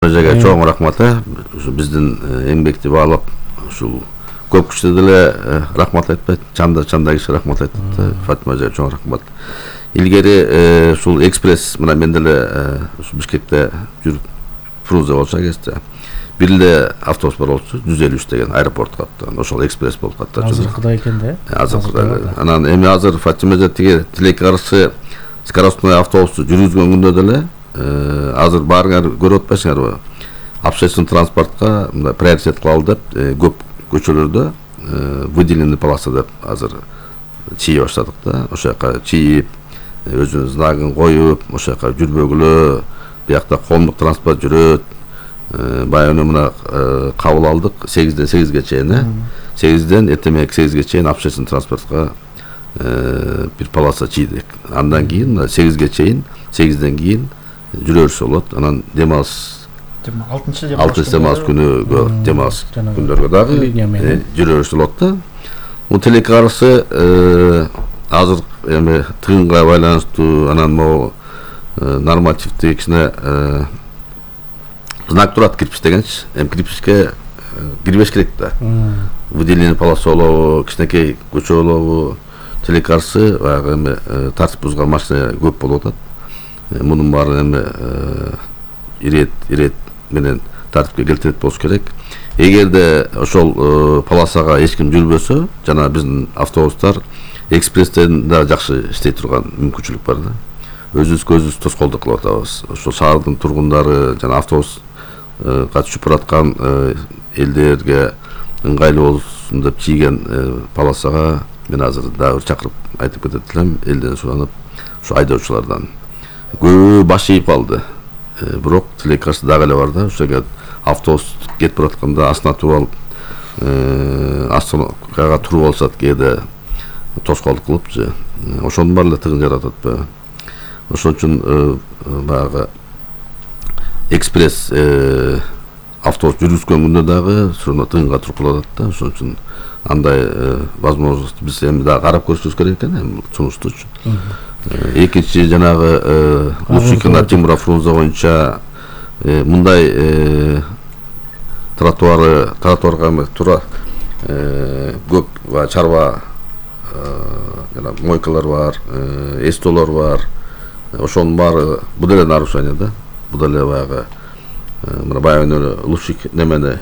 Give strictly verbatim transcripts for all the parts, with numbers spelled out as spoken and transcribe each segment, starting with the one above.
Жага чоң рахмат. Ушу биздин эмгекти баалап ушул көп кишине деле рахмат айтпайт, чанда чанда киши рахмат айтат. Фатима эжеге чоң рахмат. Илгери ушул экспресс мына мен деле ушу Бишкекте жүрүп Фрунзе болчу кезде бир эле автобус бар болчу, жүз элүү үч деген аэропортко аттан. Ошол экспресс болуп калды. Азыркыдай экен да. Азыркыдай. Анан эми азыр Фатима эже тиги тилекке каршы скоростной автобусту жүргүзгөн күндө деле азыр баарыңар көрүп атпайсыңарбы? Общественный транспортка мындай приоритет кылалы деп көп көчөлөрдө выделенный полоса деп азыр чийе баштадык да. Ошол жака чийип, өзүнүн знагын коюп, ошол жака жүрбөгүлө, биякта коомдук транспорт жүрөт. Баягы мына кабыл алдык сегизден сегизге чейин, э? сегизден эртемек сегизге чейин общественный транспортко бир полоса чийдик. Андан кийин сегизге чейин, сегизден кийин жүрө берсе болот. Анан дем алыс алтынчы демалыш күнүгө, демалыш күндөргө дагы жүрө берсе болот да. Бул тилекке каршы азыр эми тыгынга байланыштуу анан могу нормативдик кичине знак турат кирпич дегенчи. Эми кирпичке кирбеш керек да. Выделенный полоса болобу, кичинекей көчө болобу, тилекке каршы баягы эми тартип бузган машина көп болуп атат. Мунун баары эми ирет ирет менен тартипке келтирет болуш керек. Эгерде ошол полосага эч ким жүрбөсө, жана биздин автобустар экспресстен да жакшы иштей турган мүмкүнчүлүк бар да. Өзүбүз көзүбүз тоскоолдук кылып атабыз. Ошол шаардын тургундары жана автобус катышып бараткан элдерге ыңгайлуу болсун деп чийген полосага мен азыр дагы чакырып айтып кетет элем, элден суранып, ушу айдоочулардан. Көбү баш ийип калды. Бирок тилекке каршы дагы эле бар да. Ошого автобус кетип баратканда астына туруп алып, астына туруп алышат кээде тоскоолдук кылып же. Ошонун баары эле тыгын жаратат. Ошон үчүн баягы экспресс автобус жүргүзгөн күндө дагы ошондо тыгынга туруп калат да. Ошон үчүн андай возможность биз эми дагы карап көрүшүбүз керек экен, эми сунуштуу үчүн. Экинчи жанагы Лучикина Тимура Фрунзе боюнча мындай тротуары, тротуарга тура көп чарба жана мойкалар бар, эстолор бар. Ошонун баары бул деле нарушение да. Бул деле баягы мына баягы Лучик немени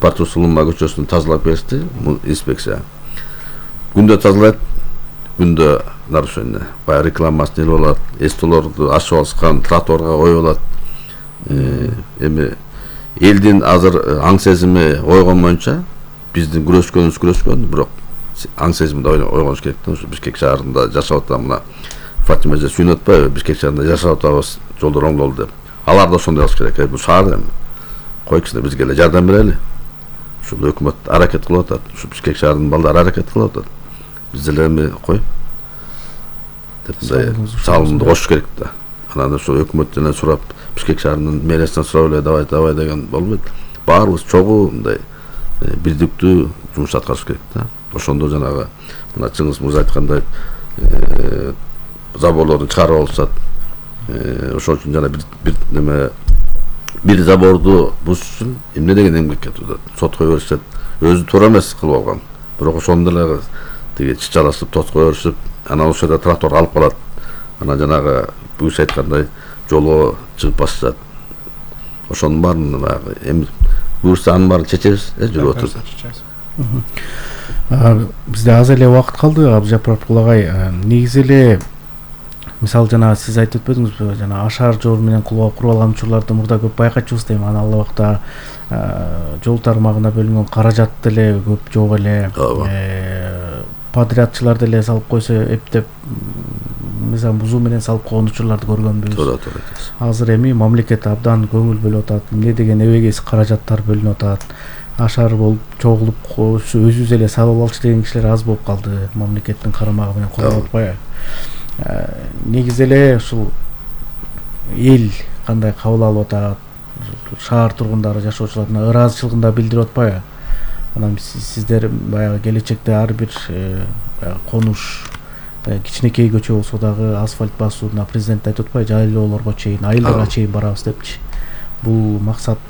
Партусулума көчөсүн тазалап беришти инспекция. Күндө тазалайт, күндө нарушение. Баягы рекламасын элип алат, эстолорду ачып алышкан, тротуарга коюп алат. Эми элдин азыр аң сезими ойгон боюнча биздин күрөшкөнүбүз күрөшкөн, бирок аң сезими да ойгонуш керек да. Ушу Бишкек шаарында жашап атам мына Фатима эже сүйүнүп атпайбы? Бишкек шаарында жашап атабыз, жолдор оңдолду деп. Алар да ошондой кылыш керек. Бул шаар эми койчусуна бизге эле жардам берели. Ушул өкмөт аракет кылып атат. Ушу Бишкек шаарынын балдары аракет кылып атат. Биз деле эми кой деп мындай салымды кошуш керек да. Анан ошо өкмөттөн сурап, Бишкек шаарынын мэриясынан сурап эле давай давай деген болбойт. Баарыбыз чогуу мындай бирдиктүү жумуш аткарыш керек да. Ошондо жанагы мына Чыңгыз мырза айткандай заборлорду чыгарып алышат. Ошон үчүн жана бир неме бир заборду бузуш үчүн эмне деген эмгек кетип атат. Сотко беришет. Өзү туура эмес кылып алган. Бирок ошондо деле тиги чычалашып, тоскоо беришип, анан ошол жерде тротуар алып калат. Анан жанагы бүгүш айткандай жолго чыгып басышат. Ошонун баарын баягы эми буюрса анын баарын чечебиз, э, жүрүп отуруп. Бизде аз эле убакыт калды, Абдыжапаров агай. Негизи эле мисалы жана сиз айтып өтпөдүңүзбү, жана ашар жол менен куруп алган учурларды мурда көп байкачубуз дейм. Анан ал убакта жол тармагына бөлүнгөн каражат деле көп жок эле. Подрядчылар деле салып койсо эптеп мисалы бузуу менен салып койгон учурларды көргөнбүз. Туура, туура. Азыр эми мамлекет абдан көңүл бөлүп атат. Эмне деген эбегейсиз каражаттар бөлүнүп атат. Ашар болуп чогулуп өзүбүз эле салып алчу деген кишилер аз болуп калды. Мамлекеттин карамагы менен колдоп атпайбы? Негизи эле ушул эл кандай кабыл алып атат, шаар тургундары, жашоочулардын ыраазычылыгын да билдирип атпайбы? Анан сиздер баягы келечекте ар бир конуш кичинекей көчө болсо дагы асфальт басууна президент айтып атпайбы? Жайлоолорго чейин, айылдарга чейин барабыз депчи. бул максат